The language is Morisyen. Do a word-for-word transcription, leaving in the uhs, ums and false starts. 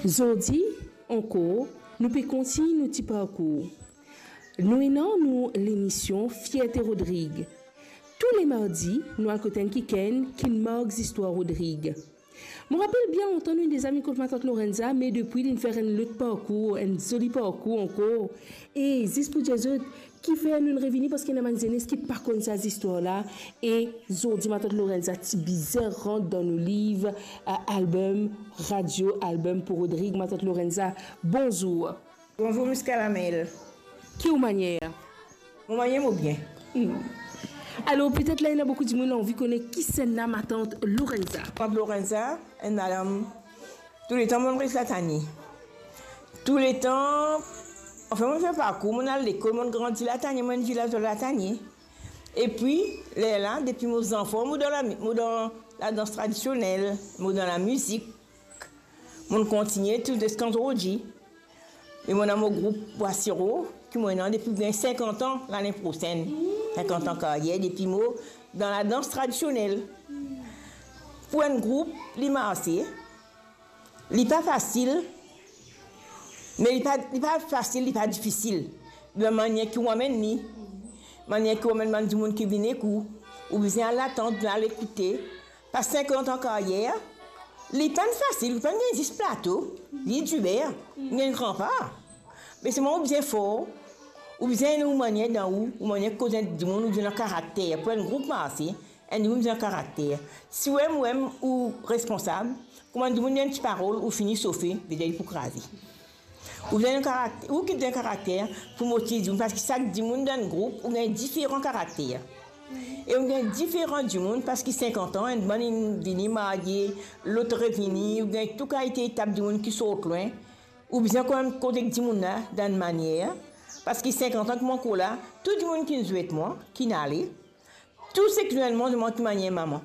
Zordi ankor, nou pe kontign nou ti parkour. Nou ena nou lemision Fierte Rodrig. Tou le mardi, nou al kot enn kikenn ki mark zistwar Rodrig. Mo rapel bien lontan nou inn deza vinn kot matant Lorenza, me depi linn fer enn lot parkour, enn zoli parkour ankor. E zis pou dir zot, kifer nou revini, parski ena bann zenes ki pa konn sa zistwar la. E zordi matant Lorenza ti bizin rant dan nou liv, a, album, radio album pou Rodrig. Matant Lorenza, bonzour. Bonzour, Miss Kalamel. Ki ou manier? Mo manier, mo bien. Hmm. Alor, petet la, ena boukou dimoun anvi kone kisannla matant Lorenza. Matant Lorenza, enn madam, touletan mo'nn res Latanie. Touletan, anfin, mo'nn fer parkour, mo'nn al lekol, mo'nn grandi Latanie, mo'nn viv la, Latanie. Epi, lerla, depi mo zanfan, mo dan la, mo dan ladans tradisionel, mo dan lamizik. Mo'nn kontigne tou ziska zordi. E mo ena mo group Bwa Siro, ki mo ena depi bien sinkant an lane prosenn. Sinkant an karyer depi mo dan ladans tradisionel. Pou enn group, li marse, li pa fasil, me li pa, li pa fasil, li pa difisil. Dan manier ki ou amenn li, manier ki ou amenn bann dimoun ki vinn ek ou, ou bizin al atann, al ekoute, Pas sinkant an karyer, li pa'nn fasil, li pa'nn gagn zis plato, li diber, li gagn gran par. Me selman ou bizin for, ou bizin ena ou manier dan ou, ou manier koz enn dimoun, ou bizin ena karakter. Pou enn group marse, enn dimoun bizin karakter. Si ou mem ou responsab, kouma dimoun dir enn ti parol, ou fini sofe, vedir li pou kraze. Ou bizin enn karakter, ou ki bizin karakter pou motiv dimoun, parski sak dimoun dan enn group, ou gagn diferan karakter. E ou gagn diferan dimoun, parski sinkant an, enn bann inn vini marye, lot revini, ou gagn tou kalite etap dimoun ki sort lwin. Ou bizin kanmem koz ek dimoun la dan enn manier, parski sinkant an ki mo ankor la, tou dimoun ki inn zwet mwa, ki inn ale, tou seki zwenn mwa, zwenn mwa ki manier mama.